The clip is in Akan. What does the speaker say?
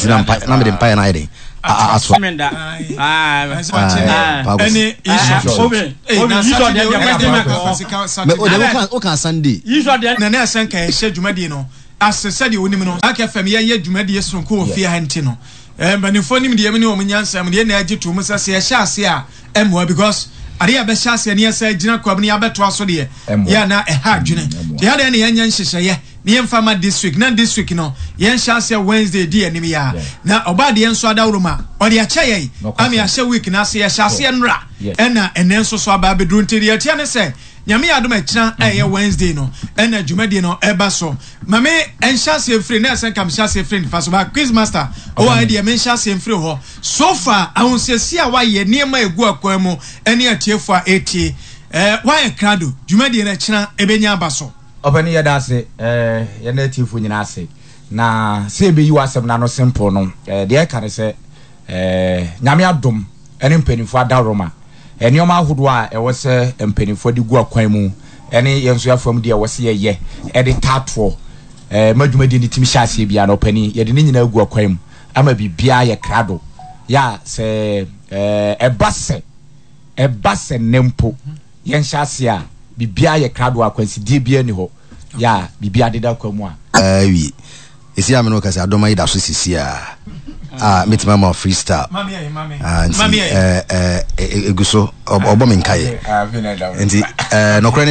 Nti na mpa na mede mpaeɛ no ayɛ den aso. Woka Sunday. Na na ɛsɛ nka yɛhyɛ dwumadie no ase sɛdeɛ wonim no. Ark FM yɛyɛ dwumadie sononko wɔ fie ha nti no mpanimfoɔ nim deɛ mu ne wɔn nyansa mu deɛ na agye to mu sɛ sɛ yɛhyɛ ase a ɛmmoa because adeɛ a yɛbɛhyɛ aseɛ ne yɛsɛ gyina kwa mu ne yɛabɛtoa so deɛ yɛ na ɛha adwene nti yɛadeɛ ne yɛnyɛ nhyehyɛeɛ ne yɛmfa ma this week na this week no yɛnhyɛ aseɛ Wednesday di anim yɛ a na ɔba adeɛ nso adaworo ma ɔde akyɛ yɛn ama yɛahyɛ week no ase yɛhyɛ aseɛ nnora ɛna ɛnɛ nso so aba abɛduru nti deɛ ɛteɛ ne sɛ Nyame yɛ adom a ɛkyena a ɛyɛ Wednesday no ɛna dwumadie no ɛba so. Ma me nhyɛ aseɛ mfiri na ɛsɛ nka mehyɛ aseɛ firi nifa so ba quiz master ɔwɔ ha deɛ menhyɛ aseɛ mfiri hɔ. So far ahosiesie a wayɛ nneɛma a ɛgu akwan mu ɛne atiefoɔ a ɛretie ɛɛ wayɛ krado dwumadie no ɛkyena ɛbɛnya aba so. Ɔpanin yɛda ase ɛɛ yɛda atiefoɔ nyinaa ase na sɛ yɛbɛyi w'asɛm no ano simple no ɛɛ deɛ ɛka ne sɛ ɛɛ Nyame adom ne mpanimfoɔ adaworoma, nneɛma ahodoɔ a ɛwɔ sɛ mpanimfoɔ de gu akwan mu ne yɛn nso yɛafam deɛ ɛwɔ sɛ yɛyɛ de taa toɔ ma dwumadie no tumi hyɛ aseɛ biara no, ɔpanin, yɛde ne nyinaa gu akwan mu ama biribiara yɛ krado. Yɛ a sɛ ɛba sɛ ɛba sɛ nnɛ mpo yɛnhyɛ aseɛ a, biribiara yɛ krado a akwansideɛ biara nni hɔ. Yɛ a biribiara deda kwan mu a. Awie. Esi a me ne wo kasa adɔma yi da so sisi a a metumi ama free style. Ah, nti eh, eh, egu so ɔbɔ me nkaeɛ. Nti eh, nɔkorɛ ne sɛ.